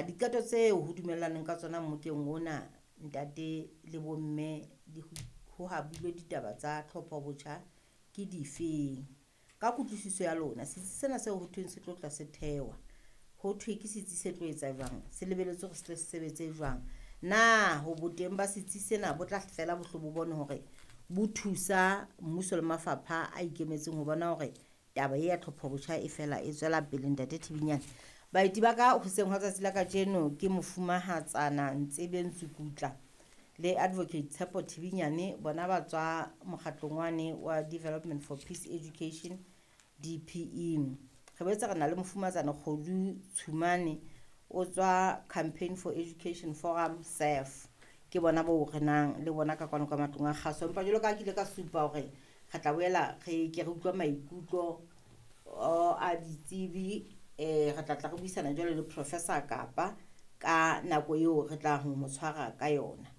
Diqeto tseo ho dumellaneng ka tsona mmokeng ona, ntate le bomme, ho habilwe ditaba tsa tlhopho botjha ke difeng? Ka kutlwisiso ya lona, setsi sena seo ho thweng se tlo tla se thewa, ho thwe ke setsi se tlo etsa jwang? Se lebelletswe hore se tle se sebetse jwang? Na ho boteng ba setsi sena bo tla fela bo hle bo bone hore bo thusa mmuso le mafapha a ikemetseng ho bona hore taba e ya tlhopho botjha e fela e tswela pele, Ntate Thibinyane? Baeti ba ka hoseng hwa tsatsi la kajeno ke Mofumahatsana Ntsebeng Tsukutla le Advocate Tshepo Thibinyane. Bona ba tswa mokgatlong wane wa Development for Peace Education, DPE. Re boetse re na le Mofumahatsana Kgodu Tshumane, o tswa Campaign for Education Forum, SAF. Ke bona boo re nang le bona ka kwano ka matlong a kgaso. Empa jwalo ka ha ke ile ka supa hore re tla boela re ke re utlwa maikutlo a ditsebi, re tla tla re buisana jwale le Professor Kapa ka nako eo re tla ho mo tshwara ka yona.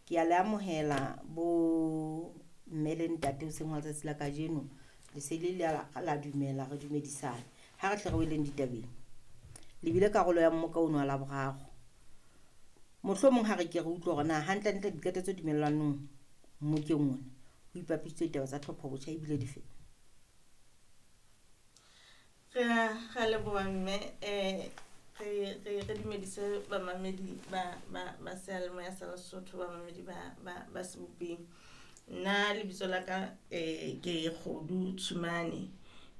Ke a le amohela bo mme le ntate hoseng hwa letsatsi la kajeno. Le se le la dumela, re dumedisane. Ha re hle re weleng ditabeng. Le bile karolo ya mmoka ono wa Laboraro. Mohlomong ha re ke re utlwe hore na hantlentle diqeto tse dumellanong mmokeng ona ho ipapisitswe ditaba tsa tlhopho botjha ebile dife? Re a leboha mme, re dumedise bamamedi ba seyalemoya sa Lesotho, bamamedi ba Sebopeng. Nna lebitso la ka ke Kgodu Tshumane.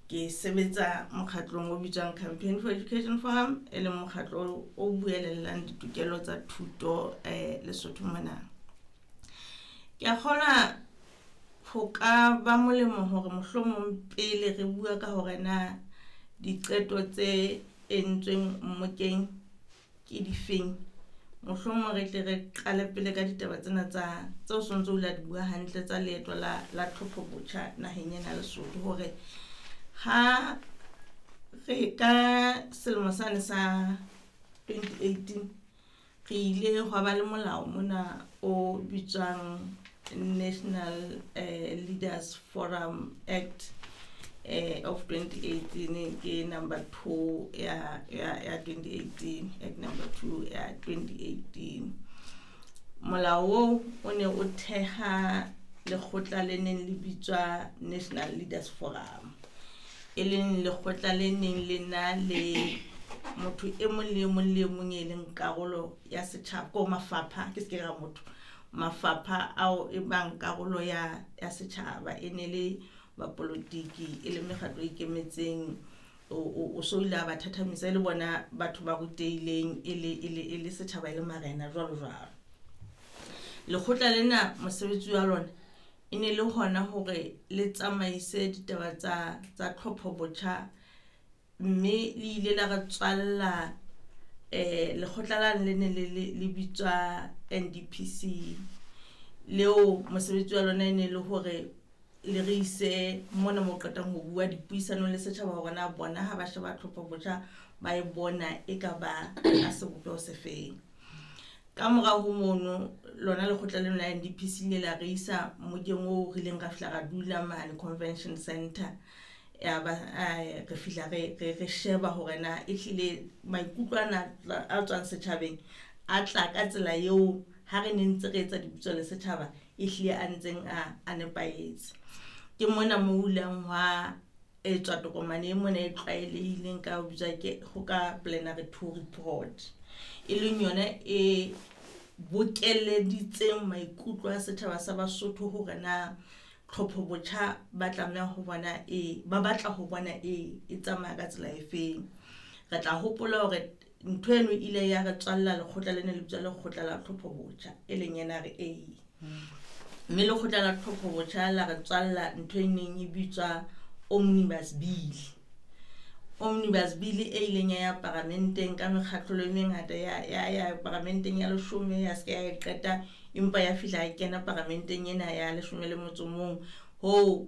Ke sebetsa mokgatlong o bitswang Campaign for Education Forum, e leng mokgatlo o buelellang ditokelo tsa thuto Lesotho mona. Ke a kgolwa ho ka ba molemo hore mohlomong pele re bua ka hore na diqeto tse entsweng mmokeng ke difeng, mohlomong re tle re qale pele ka ditaba tsena tsa tseo sontso o la di bua hantle tsa leeto la tlhopho botjha naheng ena ya Lesotho, hore ha re ka selemo sane sa 2018 re ile hwa ba le molao mona o bitswang National Leaders Forum Act of 2018, ke number 2 ya 2018, Act number 2 ya 2018. Molao oo o ne o theha lekgotla le neng le bitswa National Leaders Forum, e leng lekgotla le neng le na le motho e mong le e mong le e mong e leng karolo ya setjhaba, ko mafapha, ke se ke ra motho, mafapha ao e bang karolo ya setjhaba, e ne le bapolotiki, e le mekgatlo e ikemetseng, o so ile a ba thathamisa e le bona batho ba rutehileng, e le setjhaba, e le marena jwalo jwalo. Lekgotla lena mosebetsi wa lona e ne le hona hore le tsamaise ditaba tsa tlhopho botjha, mme le ile la re tswalla lekgotla la le ne le bitswa NDPC, leo mosebetsi wa lona e ne le hore le re ise mona mo qetang ho bua dipuisanong le setjhaba hore na bona ha ba sheba tlhopho botjha ba e bona e ka ba ka sebopeho se feng. Ka morao ho mono lona lekgotla lena la NDPC le la re isa mmokeng oo re ileng ra fihla ra dula mane Convention Center, ya ba re fihla re sheba hore na ehlile maikutlo ana a tswang setjhabeng a tla ka tsela eo ha re ne ntse re etsa dipitso le setjhaba ehlile a ntseng a nepahetse. Ke mona mo ho ileng hwa etswa tokomane e mona e tlwaelehileng ka ho bitswa ke ho ka plenary 2 report, e leng yona e bokelleditseng maikutlo a setjhaba sa Basotho hore na tlhopho botjha ba tlameha ho bona e ba batla ho bona e tsamaya ka tsela e feng. Re tla hopola hore ntho eno e ile ya re tswalla lekgotla lena le bitswa lekgotla la tlhopho botjha, e leng NRA. Mme lekgotla la tlhopho botjha la re tswalla ntho e neng e bitswa Omnibus Bill. Omnibus Bill e ileng ya ya paramenteng ka mekgatlho e mengata ya paramenteng ya leshome, ya se ke ya e qeta, empa ya fihla ya kena paramenteng ena ya leshome le motso o mong. Hoo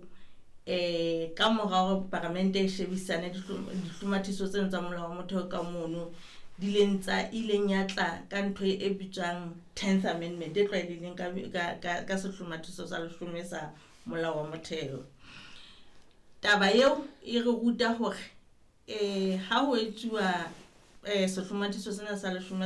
ka mora hore paramente e shebisane dihlomathiso tseno tsa molao wa motheo ka mono, di leng tsa ileng ya tla ka ntho e bitswang 10th Amendment e tlwaelehileng ka sehlomathiso sa leshome sa molao wa motheo. Taba eo e re ruta hore ha ho etsuwa sehlomathiso sena sa leshome